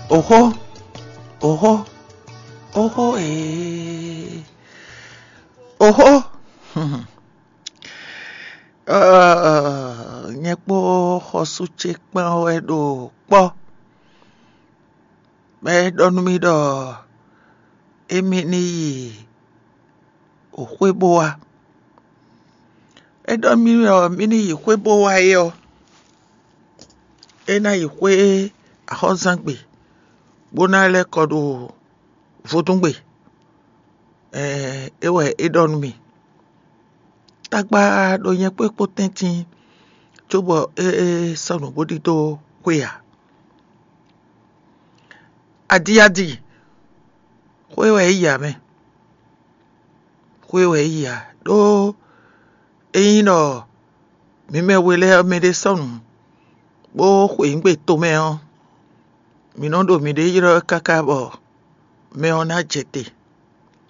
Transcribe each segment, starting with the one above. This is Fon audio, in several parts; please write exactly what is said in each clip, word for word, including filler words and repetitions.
Oxó, oxó, oxó ee, oxó. Nyɛ kpó xɔsú ce kpán wɛ ɖo kpɔ́. Bɔ é ɖɔ nú mì ɖɔ émí ní yi xwé bó wá. É ɖɔ mì ɔ́, mì ní yi xwé bó wá é ɔ́, é ná yi xwé axɔ́zán gbe, bó ná lɛ́ kɔ ɖo vodúngbe. É wɛ é ɖɔ nú mì. Tagba ɖo nyɛ kpó é kpó tɛ́ntin, cóbɔ é sɔ́ nǔ bó ɖidó xwé ǎ. Adi adi, xwé wɛ é yi ǎ mɛ. Xwé wɛ é yi ǎ, ɖó ényí ɖɔ mǐ mɛ we lɛ́ɛ ɔ́, mɛɖé sɔ́ nǔ bó xweyǐgbe tomɛ ɔ́, mǐ nɔ ɖo mǐɖée ylɔ́ káká bɔ mɛ ɔ́ ná jɛ te.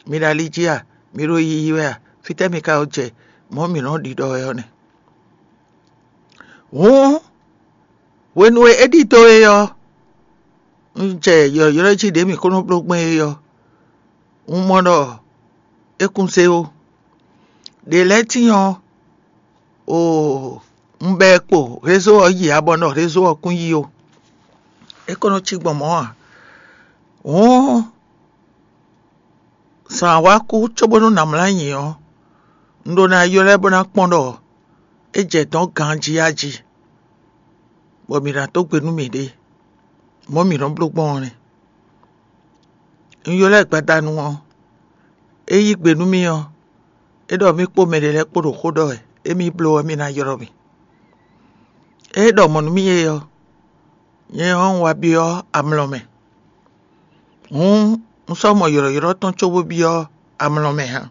Mi ɖo ali jí a? Mi ɖo yiyi wɛ a? Fítɛ́ mi ka ko jɛ? Mɔ̌ mǐ nɔ ɖiɖɔ wɛ ɔ́ nɛ́. Hǔn hwenu e é ɖidó é ɔ́, un jɛ yɔ̌yɔ́ jí ɖě mǐ ko nɔ bló gbɔn é ɔ́, un mɔ ɖɔ é kún zé ó. Ɖě lɛ́ɛ tíin ɔ́, oo, un bɛ ɛ kpo rézó ɔ́ yi abɔ nɔ rézó ɔ́ kún yi ó. É ko nɔ cí gbɔn mɔ̌ ǎ. Hǔn zǎn wá kú cóbónú nǎ mlá nyi ɔ́, un ɖó ná ylɔ́ ɛ bó ná kpɔ́n ɖɔ é jɛ dɔ̌n ganjí a jí, bɔ mǐ ná dó gbe nú mǐɖée, mɔ̌ mǐ nɔ bló gbɔn ɔ́ nɛ́. Un ylɔ́ ɛ gbadanu ɔ́, é yí gbe nú mì ɔ́, é ɖɔ mì kpó mɛɖé lɛ́ɛ kpó ɖo xó ɖɔ wɛ, émí bló ɔ́, mì ná ylɔ́ mì. É ɖɔ mɔ̌ nú mì é ɔ́, nyɛ ɔ́, un wá byɔ́ amlɔ mɛ. Hǔn un sɔ́ mɔ ylɔ̌ylɔ́ tɔn cóbó byɔ́ amlɔ mɛ ǎ.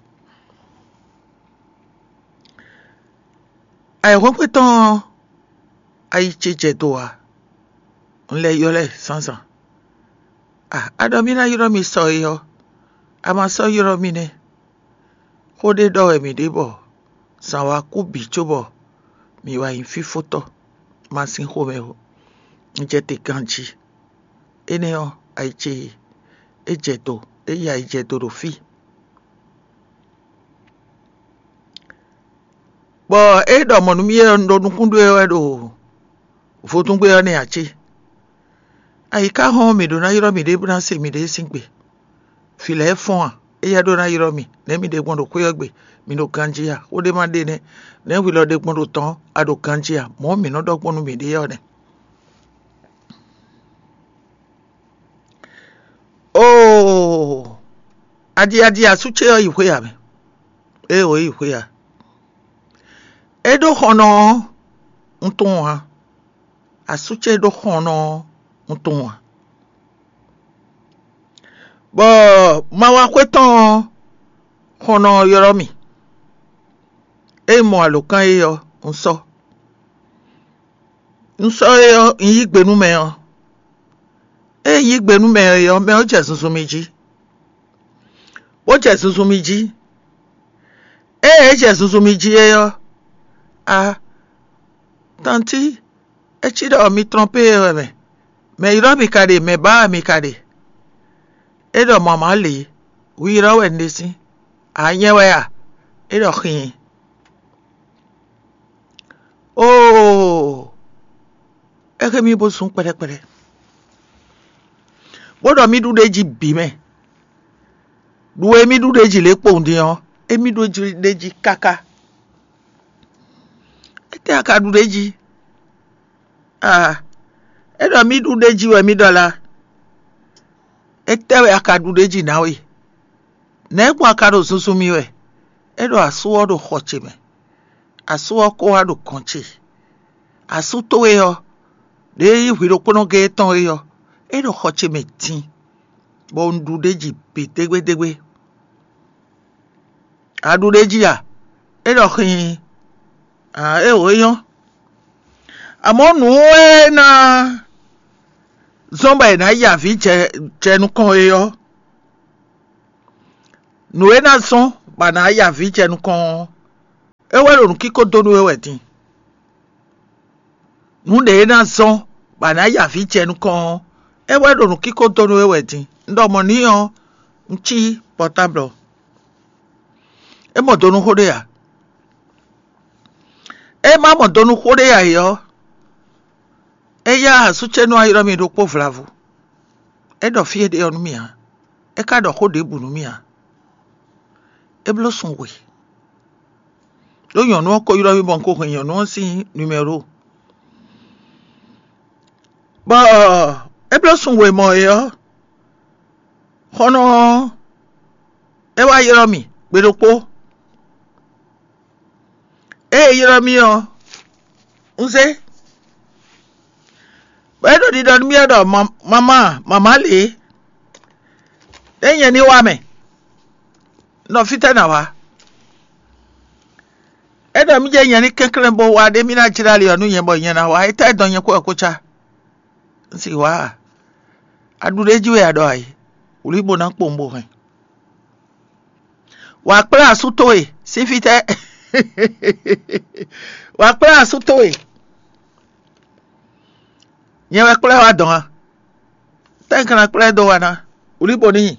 Ayǐhɔ́ngbe tɔn ɔ́, ayi ce jɛ do ǎ. Un lɛ́ ylɔ́ ɛ zǎnzǎn. A a ɖɔ mì ná ylɔ́ mi sɔ é ɔ́, a ma sɔ́ ylɔ́ mì nɛ́. Xó ɖé ɖɔ wɛ mǐ ɖe bɔ zǎn wá kú bǐ cóbɔ mǐ wá nyí fífótɔ́ ma sín xomɛ ó. Un jɛ te ganjí. Énɛ́ ɔ́, ayi ce é jɛ do, é yi ayi jɛ do ɖo fí. Bɔ é ɖɔ mɔ̌ nú mì é ɔ́, un ɖo nukún ɖó é wɛ ɖo vodúngbe ɔ́ nɛ́ ǎ cé? Ayi ka hɔn mǐ ɖó ná ylɔ́ mǐɖée bó ná se mǐɖée sín gbe. Vǐ lɛ́ɛ fɔ́n a? Éyɛ́ ɖó ná ylɔ́ mì, nɛ̌ mi ɖe gbɔn ɖo xwé ɔ́ gbe? Mi ɖo ganjí a? Xó ɖé ma ɖe nɛ́, nɛ̌ hwi lɔ ɖe gbɔn ɖo tɔn a ɖo ganjí a? Mɔ̌ mǐ nɔ ɖɔ gbɔn nú mǐɖée ɔ́ nɛ́. Oo, adi adi asú ce ɔ́ yi xwé a mɛ? Éeǒ, é yi xwé a? É ɖó xɔnɔ ɔ́, un tunwun ǎ. Asú ce ɖó xɔnɔ ɔ́, un tunwun ǎ. Bɔ ma wá xwé tɔn ɔ́, xɔnɔ ɔ́ ylɔ́ mì. Ée un mɔ alǒkan é ɔ́, un sɔ́. Un sɔ́ é ɔ́, un yí gbe nú mɛ ɔ́. Ée un yí gbe nú mɛ ɔ́, mɛ ɔ́ jɛ zunzun mì jí, bó jɛ zunzun mì jí. Ée é jɛ zunzun mì jí é ɔ́, a tantí, é cí ɖɔ mi trɔ́npé wɛ mɛ. Mɛ ylɔ́ mi ka ɖe, mɛ bǎ wɛ mi ka ɖe? É ɖɔ mamǎ lě, hwi ylɔ́ wɛ un ɖe sín. A nyɛ wɛ a? É ɖɔ xin. Oo, é xé mì bó zún kpɛɖɛkpɛɖɛ, bó ɖɔ mì ɖu ɖ'é jí bǐ mɛ. Ɖu e mì ɖu ɖ'é jí lě kpowun din ɔ́, émí ɖu ɖ'é jí káká. Étɛ́ a ka ɖu ɖ'é jí? Aa, é ɖɔ mì ɖu ɖ'é jí wɛ mì ɖɔ lá. Étɛ́ wɛ a ka ɖu ɖ'é jí ná we? Nɛ̌ gbɔn a ka ɖo zunzun mì wɛ? É ɖɔ asú ɔ́ ɖo xɔ ce mɛ. Asú ɔ́ ko wá ɖo gɔ̌n ce. Asú towe ɔ́, ɖě e nyí hwi ɖokpónɔ géé tɔn é ɔ́, é ɖo xɔ ce mɛ din, bɔ un ɖu ɖ'é jí bǐ dégbédégbé. A ɖu ɖ'é jí a? É ɖɔ xin. Aa, éeǒ, é nyɔ́. Amɔ̌ nǔ e ná zɔ́n bɔ è nǎ yi avǐ jɛ jɛ nukɔn é ɔ́, nǔ e ná zɔ́n bɔ a nǎ yi avǐ jɛ nukɔn ɔ́, é wɛ ɖo nǔkíko dó nú we wɛ din. Nǔ ɖě e ná zɔ́n bɔ a nǎ yi avǐ jɛ nukɔn ɔ́, É wɛ ɖo nǔkíko dó nú we wɛ din. Un ɖɔ mɔ̌ n'i ɔ́, un cí pɔtáblɔ. É mɔ do nú xó ɖé ǎ. É ma mɔ do nú xó ɖé ǎ é ɔ́, é yá asú ce nú a ylɔ́ mì ɖokpó vlavo. É ɖɔ fí e ɖe ɔ́ nú mì ǎ. É ka ɖɔ xó ɖěbǔ nú mì ǎ. É bló sun we. Ɖó nyɔ̌nu ɔ́ ko ylɔ́ mì bɔ un ko hɛn nyɔ̌nu ɔ́ sín numɛ́ro. Bɔ é bló sun we mɔ é ɔ́, xɔ́nɔ ɔ́, é wá ylɔ́ mì gbe ɖokpó. Ée é ylɔ́ mì ɔ́, un zé, bɔ é ɖo ɖiɖɔ nú mì wɛ ɖɔ: "Mamá, mamá lě, é nyɛ ní wá mɛ, nɔ fítɛ́ ná wá?" É ɖɔ mì jɛ nyɛ ní kɛnklɛ́n bó wá ɖé mì ná jlá ali ɔ́ nú nyɛ bɔ nyɛ ná wá. Étɛ́ dɔn nyɛ xó ɔ́ ko cá? Un sì wá a? A ɖu ɖ'é jí wɛ a ɖɔ a yi? Wlí bó ná kpowun bó hɛn. Wǎ kplá asú towe sín fítɛ́? Wǎ kplá asú towe? Nyɛ wɛ kplá wá dɔn a? Tɛ́nkɛ́n ná kplá ɛ dó wa ná? Wlí bó ní nyi.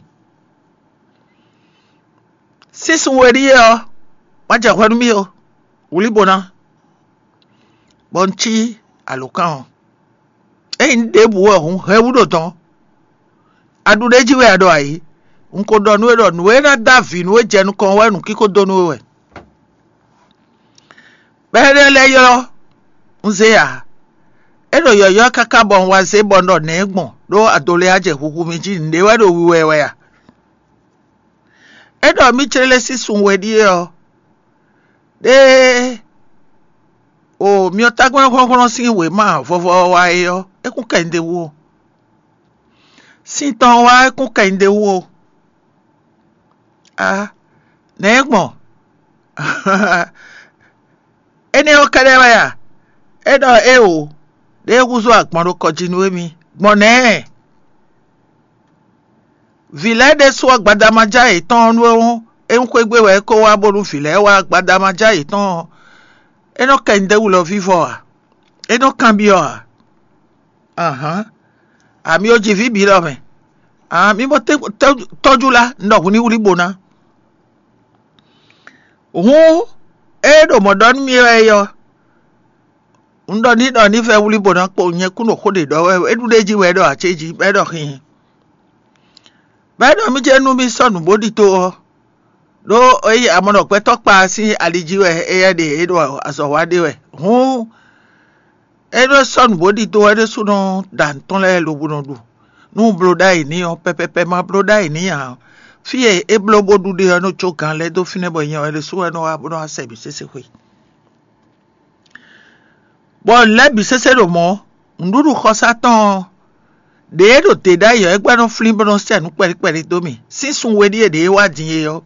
Sísun we ɖíe ɔ́, má jɛ hwɛ nú mì ó. Wlí bó ná, bɔ un cí alǒkan ɔ́. Ényí un ɖěbǔ wɛ hǔn, hɛn wú ɖo dɔn. A ɖu ɖ'é jí wɛ a ɖɔ a yi? Un ko ɖɔ nú we ɖɔ nǔ e ná dó avǐ nú we jɛ nukɔn wɛ nǔkíko dó nú we wɛ. Bɔ énɛ́ lɛ́ɛ ylɔ́ un zé ǎ. É ɖo yɔ̌yɔ́ káká bɔ un wá zé bɔ un ɖɔ nɛ̌ gbɔn ɖó adolɛ́ á jɛ huhu mì jí nǔɖé wɛ ɖo wiwɛ wɛ a? É ɖɔ mì clé sísun we ɖíe ɔ́, ɖée o myɔtágbɛ́n hlɔ́nhlɔ́n sín wěma vɔvɔ ɔ́ wá é ɔ́, é kún kɛ nyi ɖ'é wú ó. Sin tɔn wá é kún kɛ nyi ɖ'é wú ó. A nɛ̌ gbɔn? Énɛ́ ɔ́ kɛ́ɖɛ́ wɛ a? É ɖɔ éeǒ, ɖěe húzú agbɔn ɖo kɔ jí nú émí. Gbɔn nɛ̌? Vǐ lɛ́ɛ ɖésú ɔ́, gbadamajá yětɔn ɔ́ nú é hɔn, é nyí xwé gbe wɛ é ko wá bónú vǐ lɛ́ɛ wá gbadamajá yětɔn ɔ́, é nɔ kɛ nyi ɖ'é wú lɔ vívɔ a? É nɔ kanbyɔ́ a? Ahǎn, amyɔ jí vǐ bǐ lɔ mɛ. Ahǎn, mi bɔ tɔ́jú lá, un ɖɔ hǔn ní wlí bo ná. Hǔn, ée ɖo mɔ̌ ɖɔ nú mì wɛ é ɔ́, un ɖɔ ní ɖɔ ní vɛ́ wlí bo ná kpo nyɛ kún ɖo xó ɖě ɖɔ wɛ, é ɖu ɖ'é jí wɛ é ɖɔ acéjí, bɔ é ɖɔ xinxin. Bɔ é ɖɔ mì jɛ nú mì sɔ́ nǔ bó ɖi to ɔ́, ɖó é yi amɔ̌nɔgbɛ́tɔ́ kpa sín ali jí wɛ éyɛ́ ɖe é ɖo azɔ̌ wa ɖe wɛ. Hǔn, é nɔ sɔ́ nǔ bó ɖidó wɛ ɖésúnɔ ɖo anǔ tɔn lɛ́ɛ lobo nɔ ɖu. Nú un bló ɖ'ayǐ n'i ɔ́, pɛpɛpɛ ma bló ɖ'ayǐ n'i ǎ. Fí e é bló bó ɖu ɖe ɔ́, é nɔ jó gǎn lɛ́ɛ dó fínɛ́ bɔ nyɛ wɛ ɖésú wɛ nɔ wá bó nɔ wá sɛ mǐ sésexwe. Bɔ nǔ lɛ́ɛ bǐ sésé ɖo mɔ̌, nǔɖuɖu xɔsá tɔn ɔ́, ɖěe ɖo dě ɖ'ayǐ ɔ́, é gbɛ́ nɔ flín bó nɔ sɛ nǔ kpɛɖí kpɛɖí dó mì. Sín sun we ɖíe ɖě é wá din é ɔ́,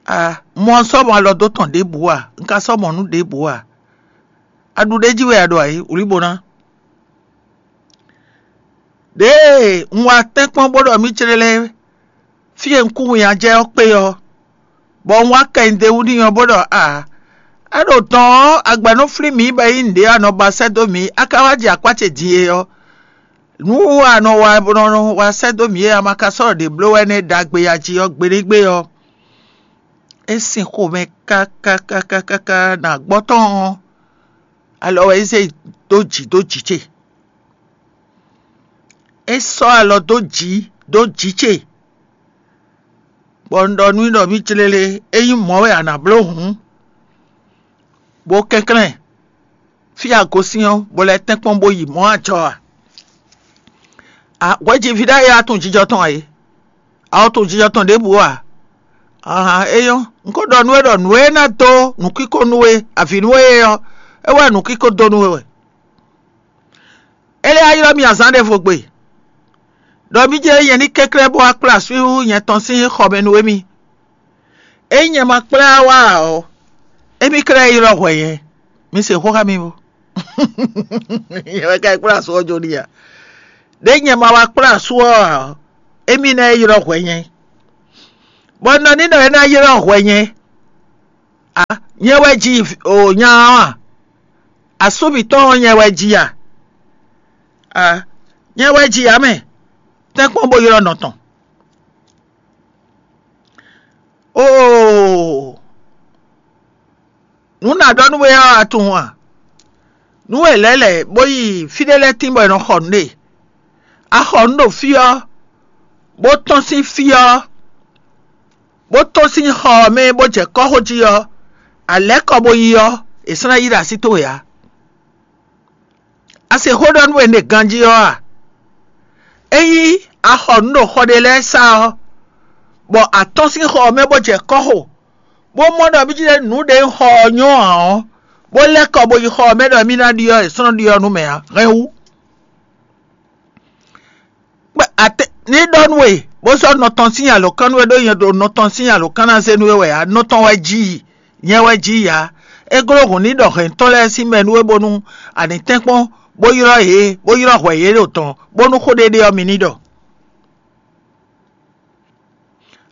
a mɔ sɔ́ mɔ alɔ dó tɔn ɖěbǔ a? Un ka sɔ́ mɔ nǔ ɖěbǔ a? A ɖu ɖ'é jí wɛ a ɖo ayǐ? Wlǐ bo ná. Ɖěe un wá tɛ́nkpɔ́n bó ɖɔ mì clé lɛ́ɛ fí e un kú winnyá jɛ ɔ́ kpé ɔ́, bɔ un wá kɛ nyi ɖ'é wú n'i ɔ́ bó ɖɔ a, a ɖo dɔn ɔ́, a gbɛ̌ nɔ flín mǐ bɔ é nyí nǔɖé a nɔ ba sɛ́ dó mǐ, a ka wá jɛ akpá ce din é ɔ́, nǔ a nɔ wa bó nɔ wá sɛ́ dó mǐ é a ma ka sɔ́ ɖɔ ɖě bló wɛ nɛ́ ɖagbe a jí ɔ́, gbeɖégbé ɔ́, é sin xomɛ káká káká káká nǎ gbɔ tɔn ɔ́, alɔ wɛ é zé dó jǐ dó jǐ ce. É sɔ́ alɔ dó jǐ dó jǐ ce, bɔ un ɖɔ nú i ɖɔ mì clélé, ényí mɔ̌ wɛ a nǎ bló hǔn, bó kɛnklɛ́n fí a gosín ɔ́, bó lɛ́ tɛ́nkpɔ́n bó yi mɔ̌ ajɔ a? A hwɛjiví ɖ'ayǐ a tunwun jijɔ tɔn ǎ é? A wɔ tunwun jijɔ tɔn ɖěbǔ ǎ? Ahan, é nyɔ́. Un ko ɖɔ nú we ɖɔ nǔ e ná dó nǔkíko nú we, avǐ nú we é ɔ́, é wɛ nǔkíko dó nú we wɛ. É lɛ́ wá ylɔ́ mì azǎn ɖěvo gbe, ɖɔ mì jɛ nyɛ ní kɛnklɛ́n bó wá kplá asú nyɛ tɔn sín xɔ mɛ nú émí. Ényí nyɛ ma kplá wá ǎ ɔ́, émí ka ná ylɔ́ hwɛ nyɛ. Mi se xó xá mì bo. Nyɛ wɛ ka yi kplá asú ɔ́ jó n'i a? Ɖěe nyɛ ma wá kplá asú ɔ́ ǎ ɔ́, émí ná yi ylɔ́ hwɛ nyɛ. Bɔ un ɖɔ n'i ɖɔ é ná ylɔ́ hwɛ nyɛ. A nyɛ wɛ ji o nya ɔ́ a? Asú mǐtɔn ɔ́ nyɛ wɛ ji a? A Nyɛ wɛ ji ǎ mɛ, tɛ́nkpɔ́n bó ylɔ́ nɔ tɔn. Oo, nǔ nǎ ɖɔ nú we ɔ́, a tunwun a? Nú è lɛ̌ lɛ̌ bó yi fí ɖé lɛ́ɛ tín bɔ è nɔ xɔ nǔ ɖe. A xɔ nǔ ɖo fí ɔ́, bó tɔ́n sín fí ɔ́, bó tɔ́n sín xɔ ɔ́ mɛ bó jɛ kɔ́xo jí ɔ́, a lɛ̌ kɔ bó yi ɔ́, è sɔ́ ná yí ɖo así towe ǎ. A se xó ɖɔ nú we ɖe ganjí ɔ́ a? Ényí a xɔ nǔ ɖo xɔ ɖé lɛ́ɛ sá ɔ́, bɔ a tɔ́n sín xɔ ɔ́ mɛ bó jɛ kɔ́xo, bó mɔ ɖɔ mí jí nǔ ɖě un xɔ ɔ́ nyɔ́ ǎ ɔ́, bó lɛ́ kɔ bó yi xɔ ɔ́ mɛ ɖɔ mí ná ɖyɔ́ è sɔ́ nɔ ɖyɔ́ nú mɛ ǎ, hɛn wú. Ní ɖɔ nú we, bó sɔ́ nɔ tɔn sín alǒkan nú we ɖó nyɛ ɖo nɔ tɔn sín alǒkan ná zé nú we wɛ ǎ, nɔ tɔn wɛ jí i, nyɛ wɛ jí i ǎ. É gló hǔn ní ɖɔ hɛ̌ntɔn lɛ́ɛ sín mɛ nú we bónú a ní tɛ́nkpɔ́n, bó ylɔ́ yě, bó ylɔ́ hwɛ yě ɖo tɔn, bónú xó ɖé ɖé ɔ́ mi ní ɖɔ.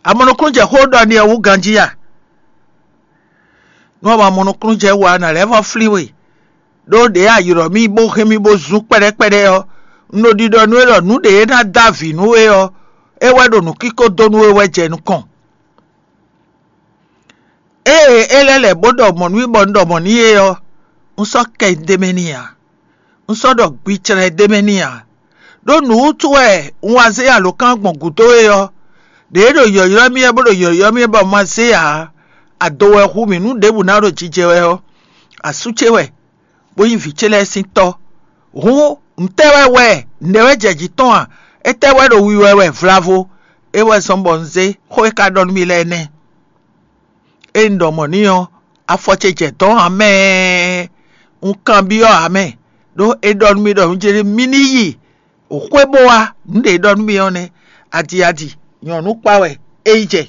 A mɔ nukúnnú jɛ xó ɖɔ n'i ɔ́ wú ganjí a? Nú a ma mɔ nukúnnú jɛ wú ǎ, nǎ lɛ́ vɔ́ flín we, ɖó ɖě a ylɔ̌ mì bó hɛn mì bó zún kpɛɖɛ́kpɛɖɛ́ ɔ́, un ɖo ɖiɖɔ nú we ɖɔ nǔ ɖě e ná dó avǐ nú we ɔ́, é wɛ ɖo nǔkíko dó nú we wɛ jɛ nukɔn. Ée é lɛ́ lɛ̌ bó ɖɔ mɔ̌ nú mì bɔ un ɖɔ mɔ̌ n'i é ɔ́, un sɔ́ kɛ d'é mɛ n'i ǎ; un sɔ́ ɖɔ gbi clɛn d'é mɛ n'i ǎ. Ɖó nǔ wútu wɛ un wá zé alǒkan gbɔn gǔdo é ɔ́, ɖě e ɖo yɔ̌ylɔ́ mì wɛ bó ɖo yɔ̌ylɔ́ mì wɛ bɔ un ma zé ǎ, ado wɛ hu mì nú ɖěbǔ ná ɖo jijɛ wɛ ɔ́, asú ce wɛ, bó nyí vǐ ce lɛ́ɛ sín tɔ́. Hǔn, ntɛ́ wɛ wɛ nɛ̌ wɛ jɛ jǐ tɔn a? Étɛ́ wɛ ɖo wiwa wɛ vlavo? É wɛ zɔ́n bɔ un zé xó e ka ɖɔ nú mì lɛ́ɛ nɛ́. Ée un ɖɔ mɔ̌ n'i ɔ́, afɔ ce jɛ dɔ̌n ǎ mɛ. Un kanbyɔ́ ǎ mɛ, ɖó é ɖɔ nú mì ɖɔ un jló mì ní yi xwé bó wá nǔ ɖě e ɖɔ nú mì ɔ́ nɛ́. Adi adi, nyɔ̌nu kpa wɛ é yi jɛ.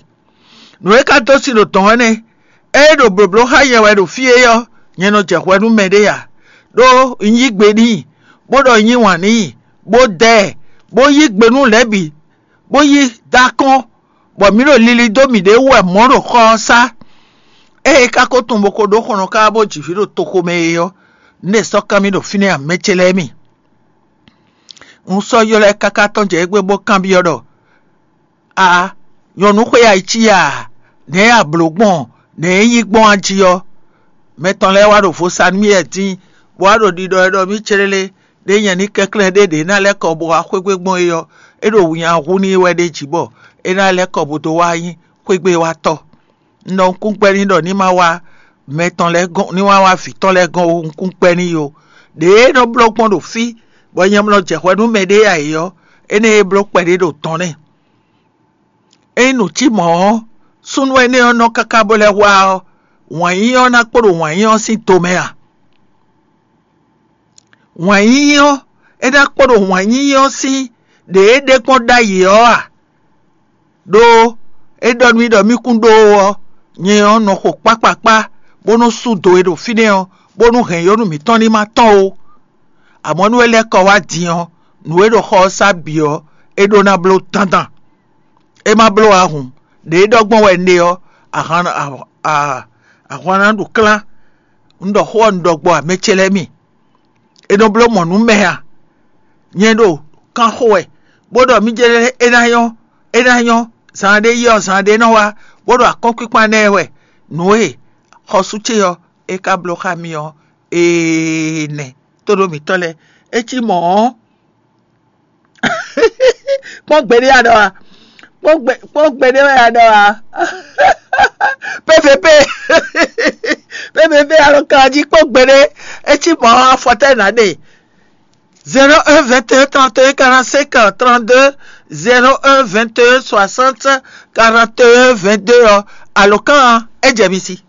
Nǔ e ka dó sin ɖo dɔ̌n ɔ́ nɛ́. Ée ɖo blǒbló xá nyɛ wɛ ɖo fí é ɔ́, nyɛ nɔ jɛ hwɛ nú mɛɖé ǎ, ɖó un yí gbe n'i, bó ɖɔ un yí wǎn n'i, bó dɛ ɛ, bó yí gbe nú lɛ̌ bǐ, bó yí dó akɔ́n, bɔ mǐ ɖo lili dó mǐɖée wú wɛ mɔ̌ ɖo xɔ ɔ́ sá. Ée é ka ko tunwun bó ko ɖó xɔnɔ káká bó ji vǐ ɖo toxo mɛ é ɔ́, nú è sɔ́ kán mì ɖo fínɛ́ ǎ, mɛ ce lɛ́ɛ mi. Un sɔ́ ylɔ́ ɛ káká tɔ́n jɛ égbé bó kanbyɔ́ ɖɔ: “A, nyɔ̌nu xwé ayicíya a? Nɛ̌ a blǒ gbɔn? Nɛ̌ é nyí gbɔn a jí ɔ́?” Mɛ tɔn lɛ́ɛ wá ɖo vo sa nú mì wɛ dín, bó wá ɖo ɖiɖɔ wɛ ɖɔ mì célélé, ɖé nyɛ ní kɛnklɛ́n ɖé ɖě ná lɛ́ kɔ bó wá xwé gbe gbɔn é ɔ́, é ɖo winnyá hu n'i wɛ ɖ'é jí bɔ é ná lɛ́ kɔ bó dó wá nyí xwégbéwátɔ́. Un ɖɔ nukúngbɛ́ n'i ɖɔ ní ma wá mɛ tɔn lɛ́ɛ gɔ́n, ní ma wá vǐ tɔn lɛ́ɛ gɔ́n ó, nukúngbɛ́ n'i ó. Ɖěe é nɔ bló gbɔn ɖo fí, bɔ nyɛ nɔ jɛ hwɛ nú mɛɖé ǎ é ɔ́, énɛ́ e bló kpɛɖé ɖo dɔ̌n nɛ́. Ényí nǔ cí mɔ̌ ɔ́, súnnu énɛ́ ɔ́ nɔ káká bó lɛ́ hwá ɔ́, wǎn yíyí ɔ́ ná kpo ɖo wǎn yíyí ɔ́ sín do mɛ a? Wǎn yíyí ɔ́, é ná kpo ɖo wǎn yíyí ɔ́ sín ɖě é ɖe gbɔn ɖ'ayǐ ɔ́ a? Ɖó é ɖɔ nú mì ɖɔ mì kún ɖó ó ɔ́, nyɛ ɔ́ nɔ xo kpákpakpá, bó nɔ́ sú do e ɖo fínɛ́ ɔ́, bónú hɛ̌nnyɔ́nú mǐtɔn ní ma tɔ́n ó. Amɔ̌ nú é lɛ́ kɔ wá din ɔ́, nǔ e ɖo xɔ ɔ́ sá bǐ ɔ́, é ɖó ná bló dandan. É ma bló ǎ hǔn, ɖě é ɖɔ gbɔn wɛ un ɖe ɔ́, ahwan ná ɖu klán. Un ɖɔ xó ɔ́ un ɖɔ gbɔ ǎ, mɛ ce lɛ́ɛ mi. È nɔ bló mɔ̌ nú mɛ a? Nyɛ ɖo kan xo wɛ, bó ɖɔ mì jɛ é ná nyɔ́, é ná nyɔ́, zan ɖé yi ɔ́, zan ɖé nɔ wá, bó ɖo akɔ́nkpinkpan ná ɛ wɛ. Nǔ e xɔsú ce ɔ́, é ka bló xá mì ɔ́, ee nɛ, tóɖó mǐtɔn lɛ́ɛ. É cí mɔ̌ ɔ́, kpɔ́n gbe ɖé a ɖɔ a? Kpɔ́n gbe kpɔ́n gbe ɖé wɛ a ɖɔ a? P V P, P V P alɔkan jí kpɔ́n gbe ɖé. É cí mɔ̌ ɔ́, afɔ tɛ́ nǎ ɖe? Zéro un vingt et un trente et un quarante-cinq trente-deux, zéro un vingt et un soixante quarante et un vingt-deux ɔ́, alɔkan ɔ́, é jɛ mi sí.